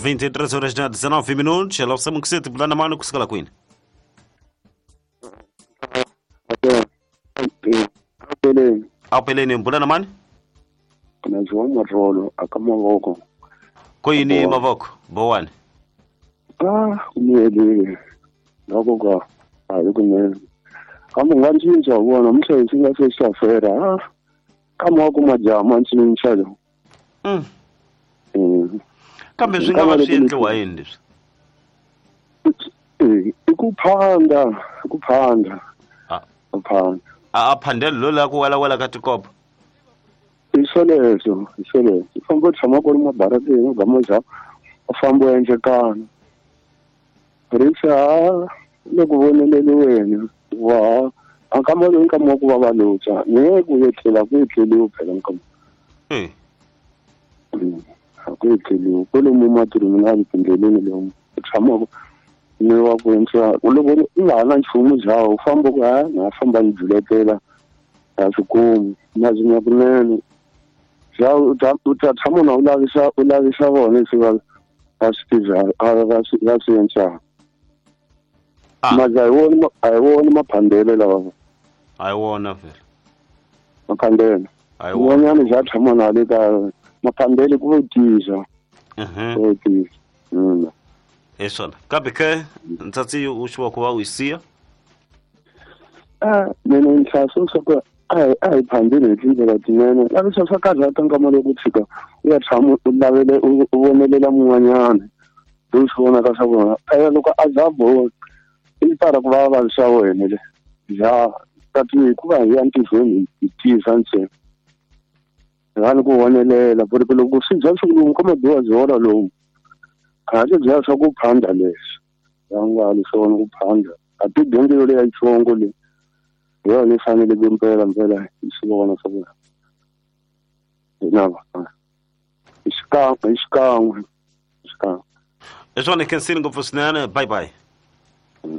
23 horas na 19 minutos. Hello, Samukuseti, bulana mani kusukela kwini? Apeleni. Apeleni, bulana mani? Naziwa marolo aka mavoko. Koyini mavoko? Bowani. Ah, kumele. Ngakho ka hayi kunene. Kambe nga cinca vona mhlayisi nga se xafera. Ah. Kama ku majama cinca lo. Kambe swi nga va swi endliwa yini leswi? I ku phanda, ku phanda. Ku phanda. A phandelo lo la ku wela ka tikopo. I swoleswo, i swoleswo. U famba u tshama ku ri mabarateni u gama za u famba u endlekana. Risa le ku voneleliweni wa a kama loyi nkama wa ku va va lutsa ni ku etlela ku etleliwi phela nkama. A ku etleliwi kwalomu matirhweni tindleleni lomu u tshamaka ni wa ku endla loko u nga ha na nchumu bya u famba ku ha na famba ni juletela a swi kumi na zinya kunene bya u ta tshama na u lavisa vona leswi va swi tivaka va swi endlaka. Maza a hi wona maphandelo lawa. A hi wona vhele. Maphandelo. Un'wanyana bya tshama na le ka maphandelo ku vo tisa. Ku tisa. Hi swona. Kambe ke ntsatsi u xiwa ku va u yi siya? Mina nhlaso swa ku a hi phandeli hi tindlela tinene. Lavisa swa karhata nkama loko tshika u ya tshama u lavele u vonelela mun'wanyana. Loyi swi vonaka swa vona. Phela loko a za boha i tala ku va vavisa wena le. Ya kati hikuva hi ya ntirhweni hi tisa ntsena. Rani ku vonelela ku ri loko swi dya swi kuma biwa byola lowu. A swi dya swa ku phanda leswi. Ya nga li swona ku phanda. A ti dyondzo leyi ya xitsongo leyi. Hi yona yi fanele ku mpela mpela hi swi vona swa ku hina va. Hi xikan'we. Hi swona khensini ngopfu swinene. Bye bye.